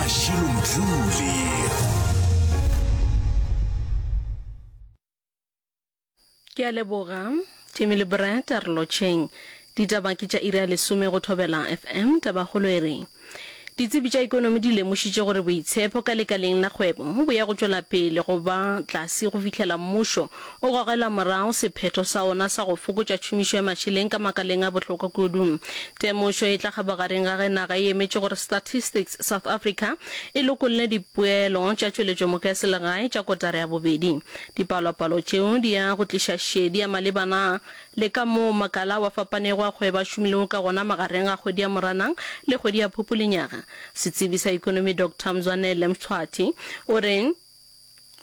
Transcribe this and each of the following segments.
Mashilo Mdluli. Ke a leboga, Timmy le Brett, a re lotšheng. Ditaba ke tša iri ya lesome go Thobela FM. Tabakgolo e re, Ditsebi tša ekonomi di lemošitše gore boitshepo ka lekaleng la kgwebo bo ya go tšwela pele go ba tlase go fihlela mmušo o gogela morago sephetho sa ona sa go fokotša tšhomišo ya mašeleng ka makaleng a bohlokwa kudu. Temošo e tla kgabagareng ga ge naga e emetše gore Statistics South Africa e lokolle dipoelo tša tšweletšomoka ya selegae tša kotara ya bobedi. Dipalopalo tšeo di ya go tliša šedi ya malebana le ka moo makala ao a fapanego a kgwebo a šomilego ka gona magareng ga kgwedi ya Moranang le kgwedi ya Phupu lenyaga. Setsebi sa ekonomi Doctor Mzwanele Mtshwathi o re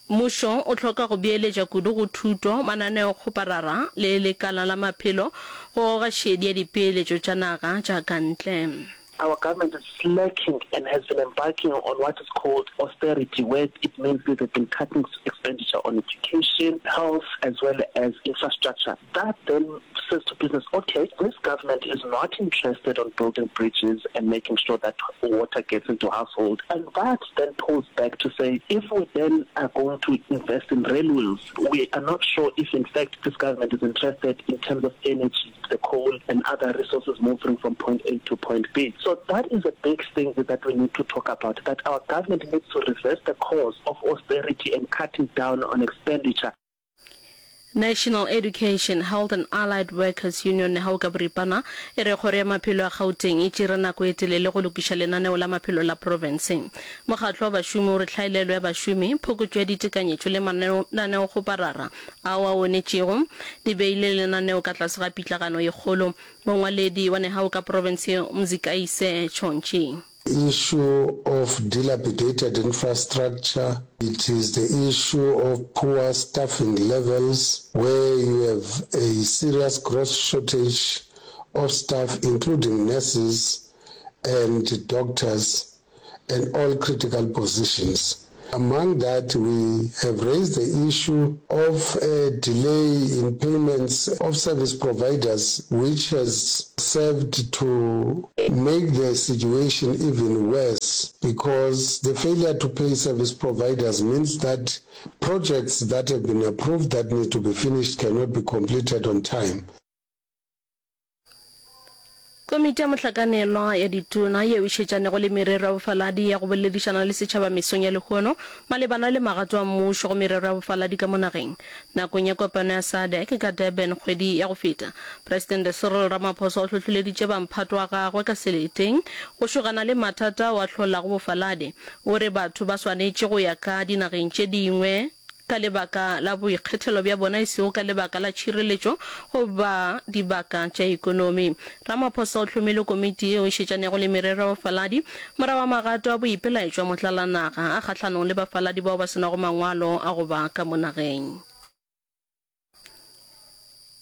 mmušo o hloka go beeletša kudu go thuto, mananeokgoparara le lekala la maphelo go goga šedi ya dipeeletšo tša naga tša ka ntle. Our government is slacking and has been embarking on what is called austerity where it means that they've been cutting expenditure on education, health as well as infrastructure. That then says to business, okay, this government is not interested on building bridges and making sure that water gets into households. And that then pulls back to say, if we then are going to invest in railways, we are not sure if in fact this government is interested in terms of energy, the coal and other resources moving from point A to point B. So that is a big thing that we need to talk about, that our government needs to reverse the course of austerity and cutting down on expenditure. National Education, Health and Allied Workers Union, NEHAWU ka boripana, e re Kgoro ya Maphelo ya Gauteng e tšere nako e telele go lokiša lenaneo la maphelo la profense. Mokgatlo wa bašomi o re tlhaelelo ya bašomi, phokotšo ya ditekanyetšo le mananeokgoparara ao a onetšego di beile lenaneo ka tlase ga pitlagano ye kgolo. Mongwaledi wa NEHAWU ka profense yeo, Mzikayise Tshontshi. Issue of dilapidated infrastructure, it is the issue of poor staffing levels where you have a serious gross shortage of staff including nurses and doctors and all critical positions. Among that, we have raised the issue of a delay in payments of service providers, which has served to make the situation even worse because the failure to pay service providers means that projects that have been approved that need to be finished cannot be completed on time. Komiti ya Mohlakanelwa ya Ditona yeo e šetšanego le merero ya bofaladi ya go boledišana le setšhaba mesong ya lehono malebana le magato a mmušo go merero ya bofaladi ka mo nageng. Nakong ya kopano ya SADC ka Durban kgwedi ya go feta, Presidente Cyril Ramaphosa o hlohleleditše bamphato wa gagwe ka seleteng go šogana le mathata ao a hlolago bofaladi. O re batho ba swanetše go ya ka dinageng tše dingwe ka lebaka la boikgethelo bja bona e sego ka lebaka la tšhireletšo goba dibaka tša ekonomi. Ramaphosa o hlomile komiti yeo e šetšanego le merero ya bafaladi morago ga magato a boipelaetšo a motlalanaga a kgahlanong le bafaladi bao ba se nago mangwalo a go ba ka mo nageng.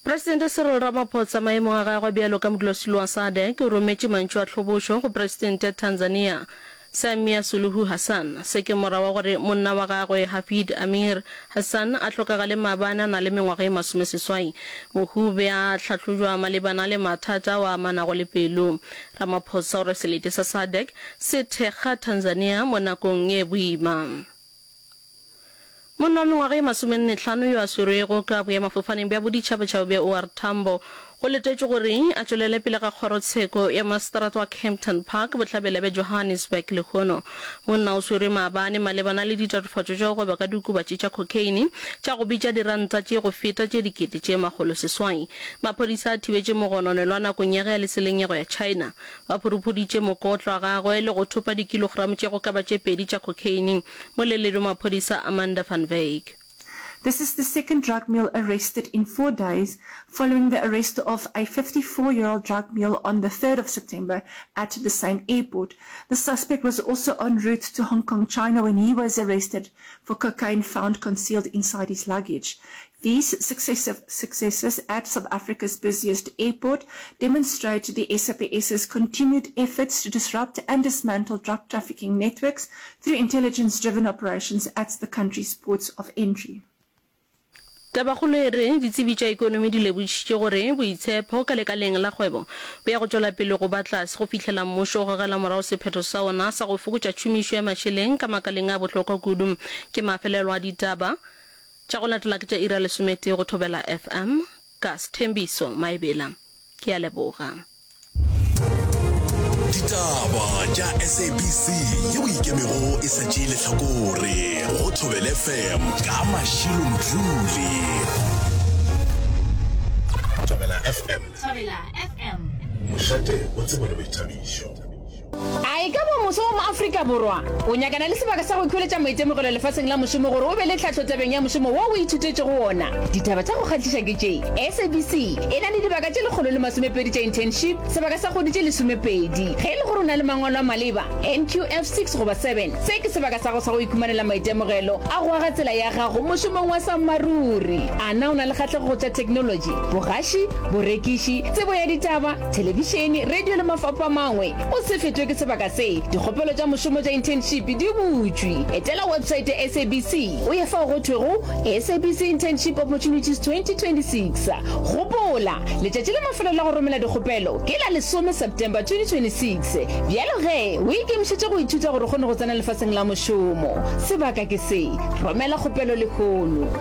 Presidente Cyril Ramaphosa maemong a gagwe bjalo ka modulasetulo wa SADC o rometše mantšu a tlhobošo go Presidente ya Tanzania Samia Suluhu Hassan. Se ke morago ga gore monna wa gagwe Hafidh Amir Hassan a hlokagale maabane a na le mengwaga e masomeseswai. Mohu o be a hlahlojwa malebana le mathata ao a amanago le pelo. Ramaphosa o re selete sa SADC se thekga Tanzania mo nakong ye boima. Monna wa mengwaga ye masomennetlhano yo a swerwego ka boemafofaneng bja boditšhabatšhaba bja OR Tambo go letetšwe gore a tšwelele pele ga kgorotsheko ya maseterata wa Kempton Park bohlabela bja Johannesburg lehono. Monna o swerwe maabane malebana le ditatofatšo tša go gweba ka diokobatši tša cocaine tša go bitša diranta tše go feta tše 600,000. Maphodisa a thibetše mogononelwa nakong ya ge a le tseleng ya go ya China. Ba phuruphuditše mokotlo wa gagwe le go thopa dikilogramo tše go ka ba tše pedi tša cocaine. Moleledi wa maphodisa Amanda van Wyk. This is the second drug mule arrested in four days following the arrest of a 54-year-old drug mule on the 3rd of September at the same airport. The suspect was also en route to Hong Kong, China when he was arrested for cocaine found concealed inside his luggage. These successive successes at South Africa's busiest airport demonstrate the SAPS's continued efforts to disrupt and dismantle drug trafficking networks through intelligence-driven operations at the country's ports of entry. Tabakgolo e re ditsebi tša ekonomi di lebošitše gore boitshepho ka lekaleng la kgwebo bo ya go tšwela pele go ba tlase go fihlela mmušo o gogela morago sephetho sa wona sa go fokotša tšhomišo ya mašeleng ka makaleng a bohlokwa kudu. Ke mafelelo a ditaba tša go latela ke tša iri ya lesometee go Thobela FM ka Sthembiso Maebela. Ke a leboga. Ditaba tša SABC yeo ikemego e sa tšee lehlakore go Thobela FM ka Mashilo Mdluli. Thobela FM. Thobela FM. Mošate wa tsebo le boithabišo. A e ka ba moswa wa mo-Afrika Borwa? O nyakana le sebaka sa go ikhweletša maitemogelo lefaseng la mošomo gore o be le tlhahlo tabeng ya mošomo wo o ithutetšego wona? Ditaba tša go kgahliša ke tše, SABC e na le dibaka tše 120 tša internship, sebaka sa kgwedi tše lesomepedi. Ge e le gore o na le mangwalo a maleba, NQF six goba seven, se ke sebaka sa gago sa go ikhumanela maitemogelo a go aga tsela ya gago mošomong wa sammaruri. A na o na le kgahlego go tša theknolotši, bogaši, borekiši, tsebo ya ditaba, Thelebišene, radio le mafapha a mangwe. O se fetwe ke sebaka se. Dikgopelo tša mošomo tša internship di butšwe. Etela websaete ya SABC o ye fao go thwego SABC Internship Opportunities 2026. Gopola, letšatši la mafelelo la go romela dikgopelo ke la lesome September 2026. Bjalo ge, o ikemišetše go ithuta gore o kgone go tsena lefaseng la mošomo. Sebaka ke se. Romela kgopelo lehono.